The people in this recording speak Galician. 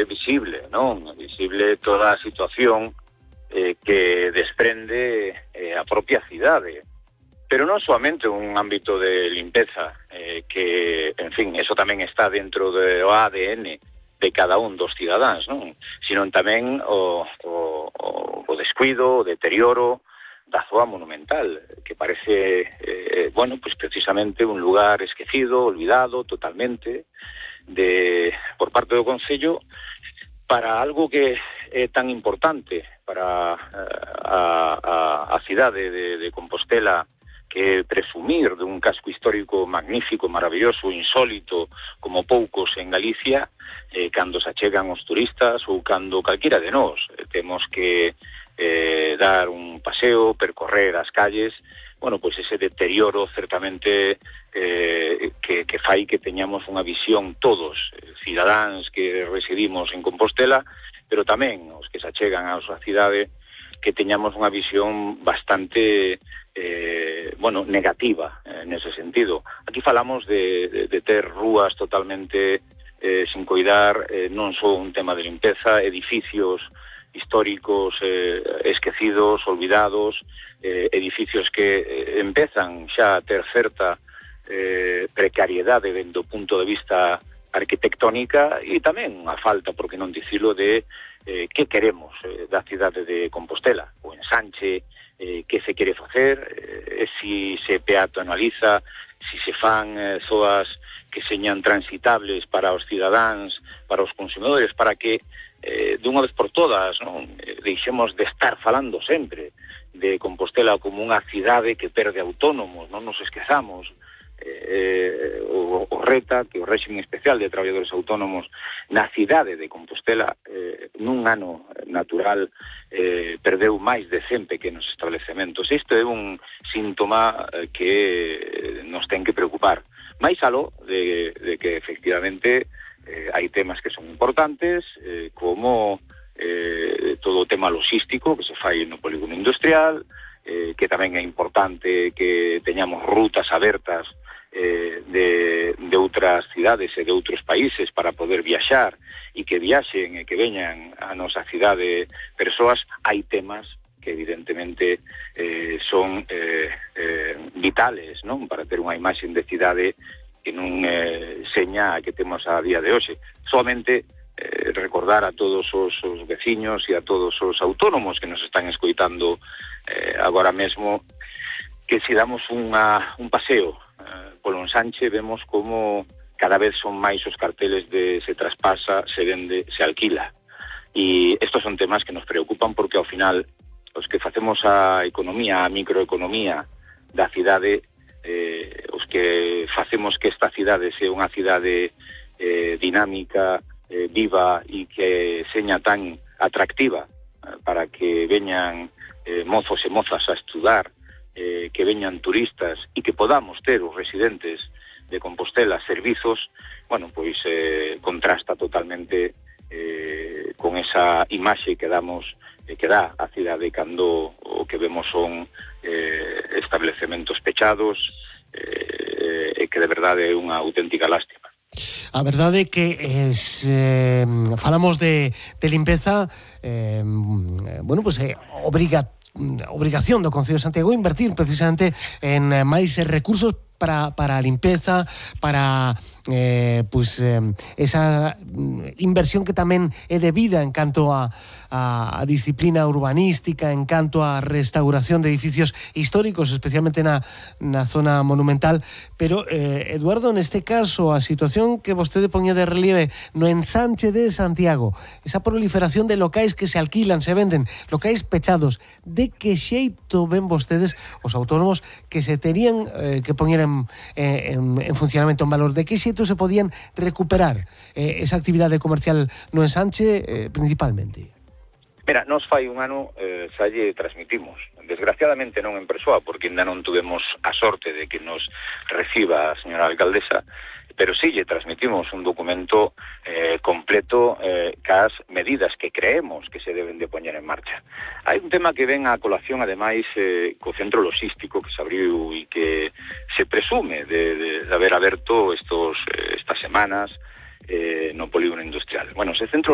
é visible, non? É visible toda a situación que desprende a propia cidade. Pero non soamente un ámbito de limpeza, que, en fin, eso tamén está dentro do ADN de cada un dos cidadáns, non? Sino tamén o descuido, o deterioro da zoa monumental, que parece, bueno, pues precisamente un lugar esquecido, olvidado totalmente, por parte do Concello, para algo que é tan importante para a cidade de Compostela, que presumir dun casco histórico magnífico, maravilloso, insólito, como poucos en Galicia, cando se achegan os turistas ou cando calquera de nós temos que dar un paseo, percorrer as calles, bueno, pois ese deterioro certamente que fai que teñamos unha visión todos, cidadáns que residimos en Compostela, pero tamén os que se achegan á súa cidade, que teñamos unha visión bastante bueno, negativa nese sentido. Aquí falamos de ter rúas totalmente sin coidar, non só un tema de limpeza, edificios históricos esquecidos, olvidados, edificios que empezan xa a ter certa precariedade dentro do punto de vista arquitectónica e tamén a falta, por que non dicilo, de que queremos da cidade de Compostela, o ensanche, que se quere facer, si se peatonaliza, si se fan zoas que señan transitables para os cidadáns, para os consumidores, para que dunha vez por todas, non, deixemos de estar falando sempre de Compostela como unha cidade que perde autónomos, non nos esquezamos, o RETA, que é o réxime especial de traballadores autónomos na cidade de Compostela, nun ano natural perdeu máis de 100 pequenos establecementos. Isto é un síntoma que nos ten que preocupar. Máis aló de que efectivamente hai temas que son importantes, como todo o tema logístico que se fai no polígono industrial, que tamén é importante que teñamos rutas abertas de outras cidades e de outros países para poder viaxar e que viaxen e que veñan a nosa cidade persoas. Hai temas que evidentemente son vitales, non, para ter unha imaxe de cidade que non seña a que temos a día de hoxe. Solamente recordar a todos os veciños e a todos os autónomos que nos están escoitando agora mesmo, que se damos un paseo polo ensanche, vemos como cada vez son máis os carteles de se traspasa, se vende, se alquila. E estos son temas que nos preocupan porque ao final os que facemos a economía, a microeconomía da cidade, os que facemos que esta cidade sea unha cidade dinámica, viva e que seña tan atractiva para que veñan mozos e mozas a estudar, que veñan turistas e que podamos ter os residentes de Compostela servizos, bueno, pois contrasta totalmente con esa imaxe que damos, que dá a cidade cando o que vemos son establecementos pechados, e que de verdade é unha auténtica lástima. A verdade é que falamos de limpeza, bueno, pues obrigación do Concello de Santiago invertir precisamente en máis recursos para a limpeza, para esa inversión que tamén é debida en canto a disciplina urbanística, en canto a restauración de edificios históricos, especialmente na zona monumental. Pero, Eduardo, neste caso, a situación que vostede poñía de relieve no ensanche de Santiago, esa proliferación de locais que se alquilan, se venden, locais pechados, de que xeito ven vostedes, os autónomos, que se terían que poñer en funcionamento, en valor, de que xeito se podían recuperar esa actividade comercial no ensanche principalmente? Mira, nos fai un ano xa lle transmitimos, desgraciadamente non en persoa, porque ainda non tuvemos a sorte de que nos reciba a señora alcaldesa, pero sí lle transmitimos un documento completo cas medidas que creemos que se deben de poñer en marcha. Hai un tema que ven a colación, ademais, co centro logístico que se abriu e que se presume de haber aberto estas semanas no polígono industrial. Bueno, ese centro